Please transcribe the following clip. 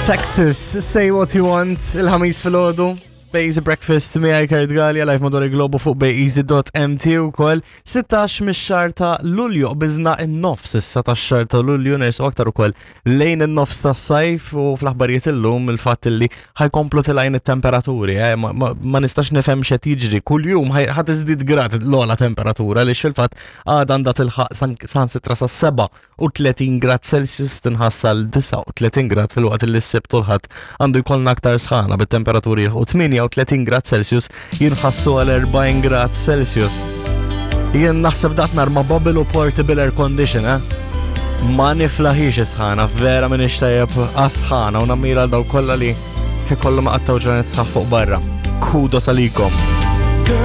Texas, say what you want, il-ħamis fil-ħodu. Bejzi Breakfast miegħi Kurt Gallia live madwar il-globu fuq bejzeasy.mt ukoll 16 mix-xahar ta' Lulju qbiżna n-nofs issa tax-xahar ta' Lulju nersu aktar ukoll lejn in-nofs tas-sajf u fl-aħbarijiet illum il-fatt li ħajkomplu tilajn it-temperaturi, eh, ma, ma, ma nistax nifhem x'qed jiġri kuljum ħa tiżdied grad l-ogħla temperatura li fil-fatt għadha għandha tilħaq san sitra sa' 37 grad Celsius tinħass għal 39 grad filwaqt li s-Sibt u l-Ħadd għandu jkollna aktar sħana bit-temperaturi jilħqu 38 grad Celsius jinħassu għal 40 grad Celsius. Jien naħseb daqt narma bubble u portable air condition, eh? Ma niflaħix sħana, vera minn tajjeb għas-sħana u nammira għal daw kollha li ikollhom qattaw ġranet sħaħ fuq barra. Kudos għalikom.